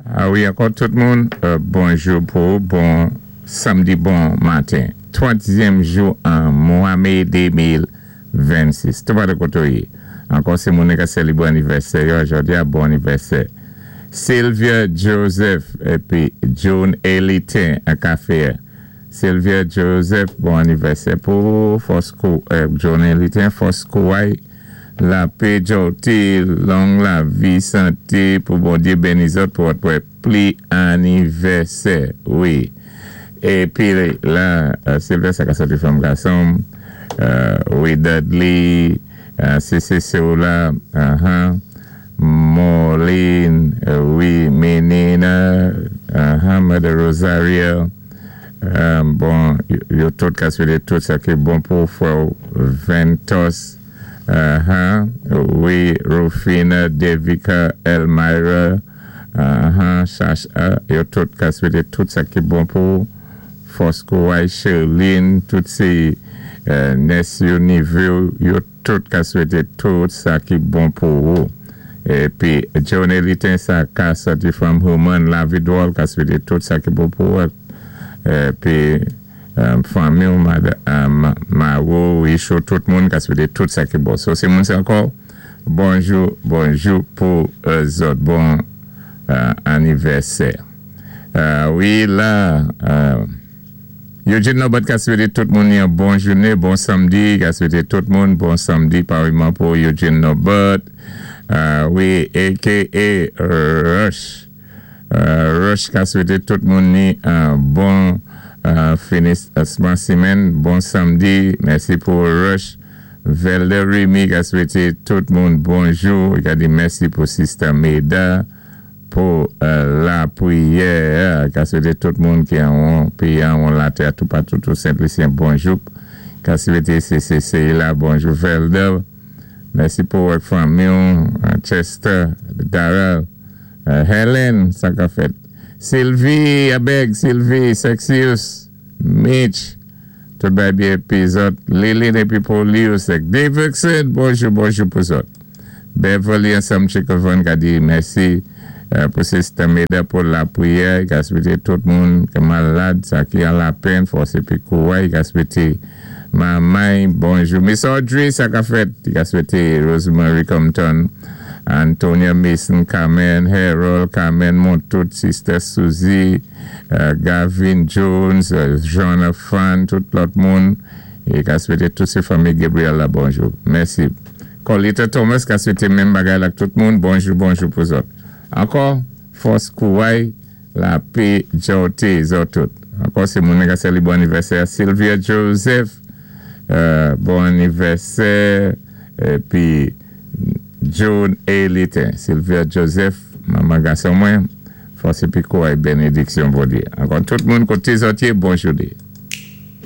A wi, ankò tout moun, bonjou pou bon samdi, bon maten. Twazyèm jou an mwa mé 2026. Tout pa de koto yé. Ankò sé moun ka sélébwé anivèsè yo, jòdi a, bon anivèsè. Sylvia Joseph épi June Elitin an kafé. Sylvia Joseph, bon anivèsè pou fòs June Elitin, fòs kouway, lapé, jòté, long lavi, santé, pou Bondyé béni zòt pou wè pli anivèsè, wi. Épi la, Sylvia sa ka sòti fanm gason, wi, Dudley, CCC la, Maureen, wi, Menina, Mother Rosario, bon, yo tout ka swété tout sa ki bon pou frè Ventos, wi, Rufina, Devika, Elmira, Shasha, yo tout ka swété tout sa ki bon pou fòs kouway, Sherlyn, tout sé niès yo, névé, yo tout ka swété tout sa ki bon pou ou. Épi, John Elitin sa ka sòti from Human, La Vidwòl ka swété tout sa ki bon pou ou. Épi, fanmi ou, Maro, Isho, tout moun ka swété tout sa ki bon. So, sé moun sa ankò, bonjou, bonjou pou zòt, bon anivèsè. Wi, la, Eugene Norbert ka swété tout moun yon bon jounen, bon samdi, ka swété tout moun bon samdi, pareillement pou Eugene Norbert. Wi, a.k.a. Rush. Rush ka swété tout moun ni un bon finisman simenn, bon samdi, mèsi pou Rush. Velder Remy ka swété tout moun bonjou, i ka di mèsi pou Sister Meda, pou lapriyè, ka swété tout moun ki an péyi an latè tout patou tout Sent-Lisyen bonjou, ka swété CCC la bonjou Velder, mèsi pou wèk fanmi, Chester, Darrell, Helen, sa ka fèt. Sylvie, Abeg, Sylvie, Sexius, Mitch, tout bay byen épi zòt, Lilin épi Polius, Davidson, bonjou, bonjou pou zòt. Beverly ansanm Chikovan ka di mèsi pou Sister Meda pou lapriyè, ka swété tout moun ki malad, sa ki an lapenn, fòs épi kouway, ka swété Mamay, bonjou. Miss Audrey, sa ka fèt, ka swété Rosemary Compton, Antonia Mason, Carmen, Harold, Carmen Montout, Sister Suzy, Gavin Jones, Jean Fan, tout lòt moun, é ka swété tout sé fanmi Gabriel la, bonjou. Mèsi. Colita Thomas ka swété menm bagay la tout moun, bonjou, bonjou pou zòt. Ankò, fòs kouway, lapé, jòté, zòt tout. Ankò, sé moun ka sali bon anivèsè Sylvia Joseph, bon anivèsè, épi June Elitin, Sylvia Joseph, manman gason mwen, fòs épi kouway, bénédiksyon Bondyé. Ankò tout moun koté zòt yé, bonjou dé.